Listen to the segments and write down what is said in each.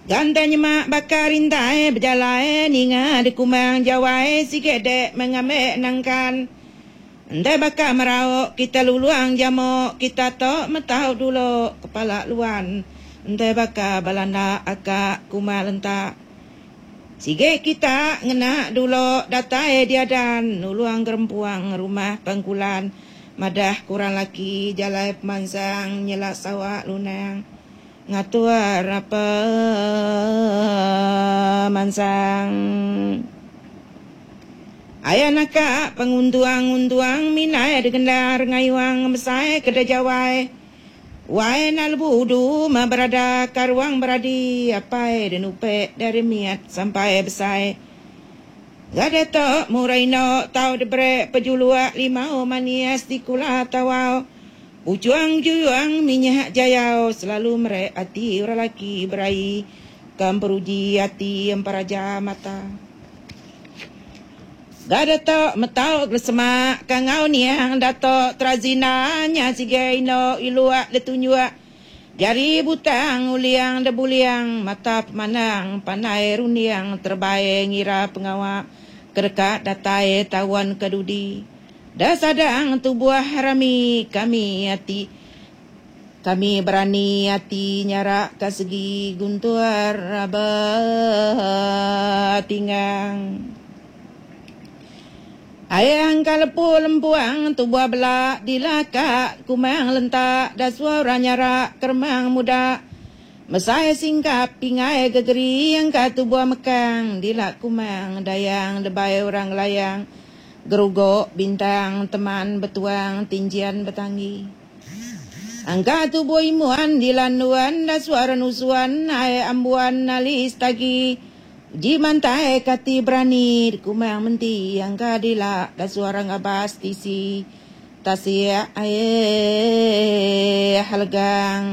Ganda nyema baka rintai bejalai ninga dikumang jawai sigi dek mengambi nangkan. Enda baka merau kita luluang jamo kita to metau dulo kepala luan enda baka balanda aka kuma lentak. Sigi kita ngena dulo datai diadan nulung gerempuang rumah pengkulan madah kurang laki jalai pemansang nyela sawa lunang. Ngatur pemansang. Aya naka penguntung-untung minai digendar ngayuang ngemesai ke dejawai. Wai enda lebu udu meh berada ka ruang beradi apai dinupe dari mit sampai besai. Ga diatu murah ino tau diberi pejuluk limau manis dikula tawau. Ujung juyung minyak jayau selalu meri ati orang laki beraie ke emperuji ati emperaja mata. Ga dato metau gelesema ke enggau niang dato Terazina nya sigai ino iluk ditunjuk jari butang uling debuling mata pemandang pandai runding terebai ngira pengawa ke deka datai taun ke dudi. Da sadang tubuh rami kami ati kami berani ati nyarak ka segi guntur ba tinggang. Ayang ka lepu lempuang tubuh bela dilaka kumang lentak da suara nyarak keremang muda mesai singkap pingai gegeri angka tubuh mekang dila kumang dayang debai orang ngelayang. Gerugo, bintang, teman, betuang, tinjian, betanggi. Angka tubuh imuan, dilanduan, dasuar nusuan, ai ambuan, alis tagi, uji mantai kati berani, dikumang menti, angka dila, dasuar ngabas tisi, tasik ai halegang.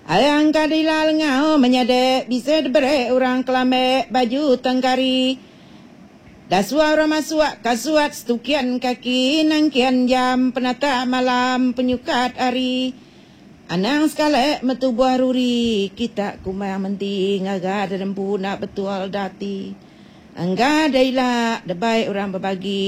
Ai angka dila lengau menyade bisi diberi orang kelambe baju tengkari. Dasua orang masuk kasuat setukian kaki nangkian jam penata malam penyukat hari. Anang sekali metubuh ruri kita kumang menti ngaga dedempu enda betul dati. Engga da ila debai orang bebagi.